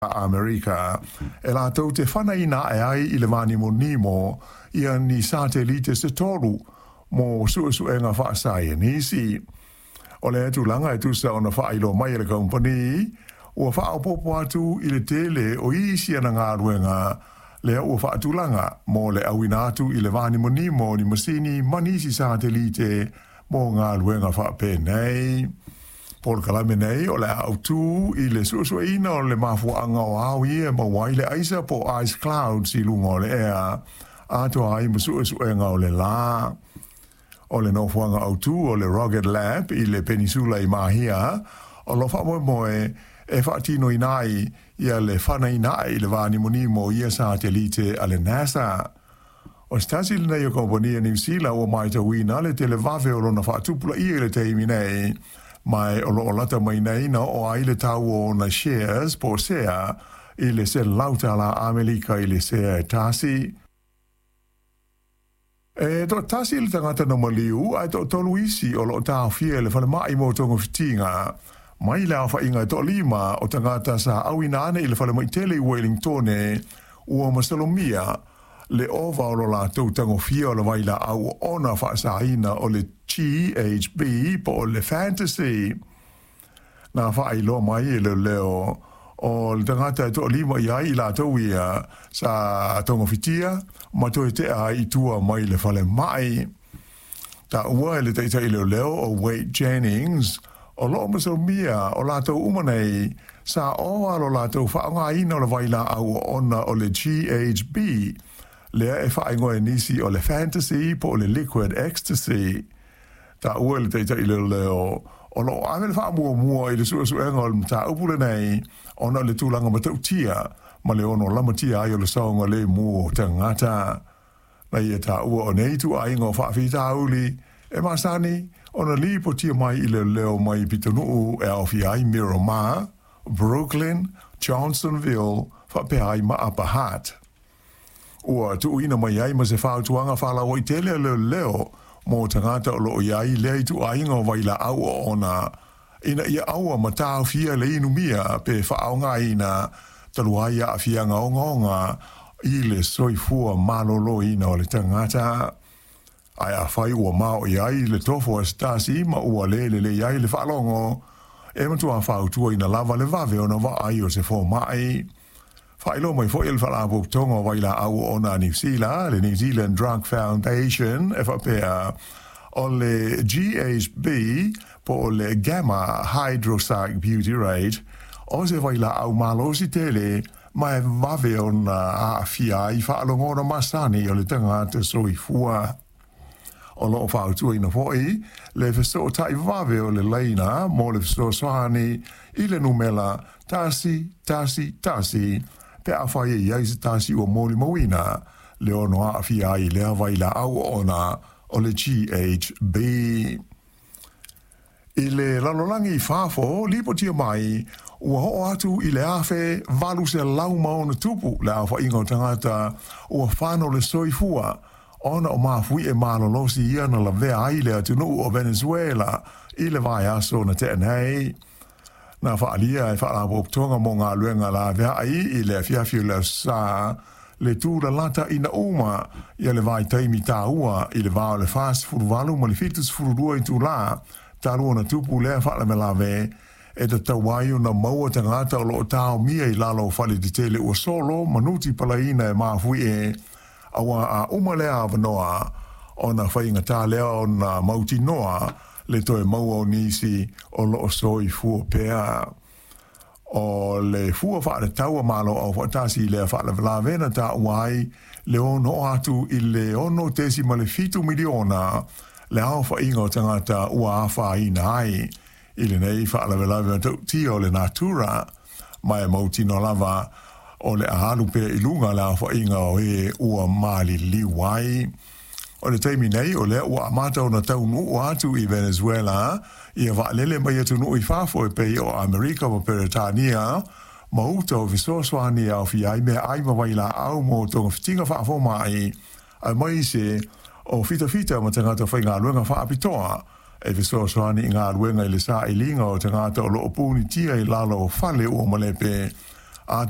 Amerika e latou te fanaina ae ai i le vānimonimo ia ni satelite se tolu mo suesuega faasaienisi. O lea tulaga e tusa ona faailoa mai e le kamupani, ua faaopoopo atu i le tele o isi ana galuega lea ua faatulaga mo le auina atu i le vānimonimo o ni masini ma nisi satelite mo galuega faapenei. Polokalame nei o le a autu i le suesueina o le mafuaaga o ao ia e maua ai le aisa po o ice clouds i luga o le ea, atoa ai ma suesuega o le lā. O le nofoaga autu o le Rocket Lab i le Penisula i Mahia, o lo o faamoemoe e faatinoina ai ia le fanaina ae i le vānimonimo o ia satelite a le NASA. O se tasi lenei o kamupani a Niu Sila ua matauina le televave o lona faatupulaia i le taimi nei, ma o lo o lata mai nei na oo ai le tau o ona shares po o sea i le $100 Amerika i le sea e tasi. E toatasi le tagata na maliu ae toatolu isi o lo o taofia i le falemai mo togafitiga mai le aofaiga e toalima o tagata sa auina ane i le falemai tele i Wellingtone ua masalomia le ova o lo latou tagofia o le vailaau oona faasaina o le GHB po o le Fantasy. Na faailoa mai e leoleo o le tagata e toalima i ai i latou ia sa togafitia ma toe tea ai i tua mai le falemai. Taua e le taitai leoleo o Wade Jennings, o lo o masalomia o latou uma nei sa ova lo latou faaaogaina o le vailaau oona o le GHB, lea e faaigoa e nisi o le Fantasy po o le Liquid Ecstasy. Taua e le taitai leoleo o lo o ave le faamuamua i le suesuega o le mataupu lenei ona o le tulaga matautia ma le ono lamatia ai o le saogalemu o tagata. Na ia taua o nei ituaiga o faafitauli e masani ona lipotia mai i leoleo mai pitonuu e aofia ai Miramar, Brooklyn, Johnsonville faapea ai ma Upper Hutt. Ua tuuina mai ai ma se fautuaga faalauaitele a leoleo mo tagata o lo o i ai lea ituaiga o vailaau oona ina ia aua ma taofia le inumia pe faaaogaina talu ai aafiaga ogaoga i le soifua maloloina o le tagata. Ae afai ua maoʻi ai le tofo a se tasi ma ua le lelei ai le faalogo, e matua fautuaina lava le vave ona vaai o se fomai. Faailoa mai foi e le Faalapotopotoga o Vailaau Oona a Niu Sila, le New Zealand Drug Foundation, e faapea o le GHB po o le gamma hydroxybutyrate o se vailaau malosi tele ma e vave ona aafia ai faalogona masani o le tagata soifua. O lo o fautuaina foi le fesootai vave o le laina mo le fesoasoani i le numera 111 pe afai e i ai se tasi ua molimauina le ono aafia ai i lea vailaau oona o le GHB. I le lalolagi i fafo, lipotia mai ua oo atu i le 1800+ le aofaiga o tagata ua fano le soifua ona o mafuie malolosi ia na lavea ai le atunuu o Venezuela i le vaiaso na tea nei. Na faaalia e Faalapotopotoga mo Galuega Laveai i le afiafi o le Aso Sa le tulalata ina uma ia le vaitaimi taua i le va o le 48 ma le 72 itulā talu ona tupu lea faalavelave e tatau ai ona maua tagata o lo o taomia i lalo o fale tetele ua solo ma nuti palaina e mafuie, auā a uma lea avanoa ona faigata lea ona mautinoa le toe maua o nisi o lo o soifua pea. O le fua faatatau a Malo Aufaatasi i lea faalavelave na taua ai le ono oo atu i le 6.7 miliona le aofaiga o tagata ua afaina ai i lenei faalavelave matautia o le natura, ma e mautinoa lava o le a alu pea i luga le aofaiga o e ua maliliu ai. O le taimi nei, o lea ua amata ona taunuu atu i Venezuela ia vaalele mai atunuu i fafo e pei o Amerika ma Peretania ma uta o fesoasoani e aofia ai meaai ma vailaau mo togafitiga faafomai, aemaise o fitafita ma tagata faigaluega faapitoa e fesoasoani i galuega i le sailiga o tagata o lo o punitia i lalo o fale ua malepe. Atoa.